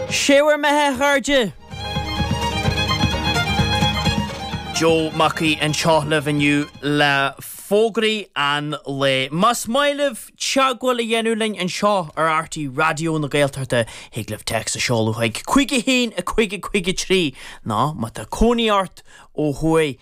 Sé bhur mbeatha a chairde! Joe Mac Aoidh anseo libh inniu le fógraí an lae. Más maith libh teagmháil a dhéanamh linn anseo ar RTÉ Raidió na Gaeltachta, thig libh téacs a sheoladh chuig 51 5 53 nó má tá cónaí ort ó thuaidh,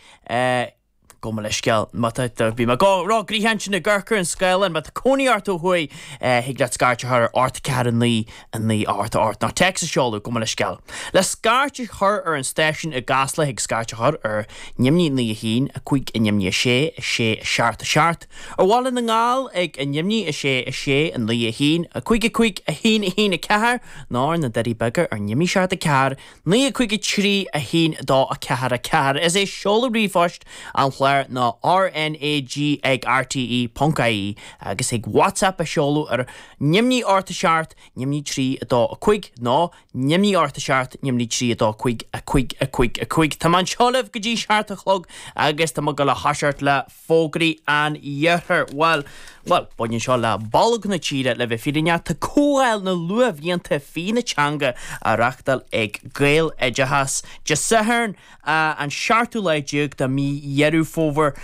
Gabh mo leithscéal, má tá, bhí mé ag rá gnoitheach ansin ag amharc ar an scáileán, má tá cónaí ort ó thuaidh, thig leat scairt a chur ar 8 4 9 9 8 8 nó téacs a sheoladh, gabh mo leithscéal. Le scairt a chur ar an stáisiún i gCasla thig scairt a chur ar neamhní 9 1 5 neamhní 6 6 7 7, ar Bhaile na nGall ag neamhní 6 6 9 1 5 5 1 1 4 nó ar na Doirí Beaga ar neamhní 7 4 9 5 3 1 2 4 4. Is é seoladh ríomhphoist an chláir ná RNAG ag rte ponc ie agus thig WhatsApp a sheoladh ar neamhní 8 7 neamhní 3 2 5 nó neamhní 8 7 neamhní 3 2 5 5 5 5. Tá mé anseo libh go dtí 7 a chlog agus tá mé ag dul a thoiseacht le fógraí an iarthair. Bhuel, bhuel, baineann seo le bolg na tíre, le bheith fírinneach. Tá Comhdháil na Luathbhlianta Fí na Teanga á reachtáil ag Gaeloideachas Dé Sathairn, an seachtú lá déag de mhí Dheireadh Fómhair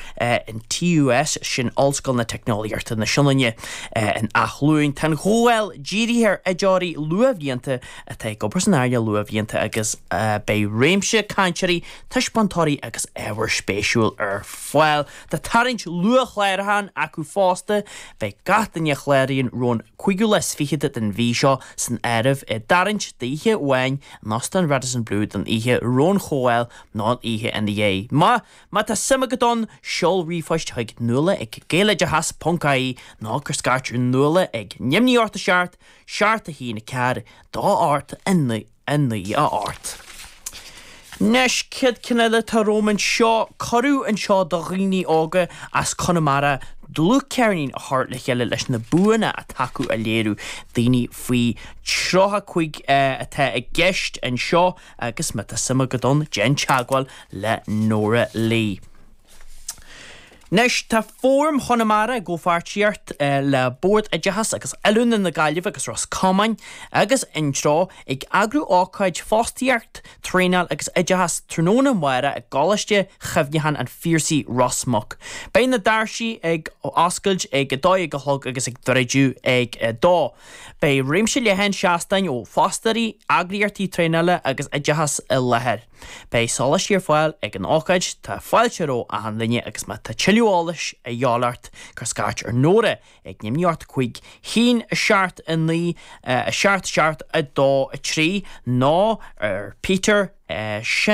in TUS, sin Ollscoil na Teicneolaíochta na Sionainne in Áth Luain. Tá an chomhdháil dírithe ar oideoirí luathbhlianta atá ag obair san earnáil luathbhlianta agus beidh réimse cainteoirí, taispeántóirí agus ábhar spéisiúil ar fáil. Tá tarraingt luathchlárúcháin acu fosta. Beidh gach duine a chláraíonn roimh an cúigiú lá is fichead den mhí seo san áireamh i dtarraingt d'oíche amháin in Óstán Radisson Blu don oíche roimh an chomhdháil nó an oíche ina dhiaidh. Má má tá suim agat ann, seol ríomhphost chuig nuala ag gaeloideachas ponc ie nó cuir scairt ar Nuala ag neamhní 8 7 7 1 4 2 8 9. 9 8. Anois, céad ceann eile atá romham anseo, cuireadh anseo do dhaoine óga as Conamara dlúthcheirnín a chur le chéile leis na buanna atá acu a léiriú. Daoine faoi 35 atá i gceist anseo agus má tá suim agat ann, déan teagmháil le Nóra Lee. Anois, tá Fóram Chonamara i gcomhpháirtíocht le Bord Oideachais agus Oiliúna na Gaillimhe agus Ros Comáin agus Intreo ag eagrú ócáid Fostaíocht, Traenáil agus Oideachas tráthnóna amárach i gColáiste Chuimhneacháin an Phiarsaigh, Ros Muc. Beidh na doirsí ag oscailt ag 12 a chlog agus ag druideadh ag 2. Beidh réimse leathan seastáin ó fostóirí, eagraíochtaí traenála agus oideachais i láthair. Beidh sóláistí ar fáil ag an ócáid, tá fáilte roimh achan duine agus má tá tuilleadh eolais a dhíobháil ort, cuir scairt ar Nóra ag neamhní 8 5 1 7 9 7 7 2 3 nó ar Peter, sin.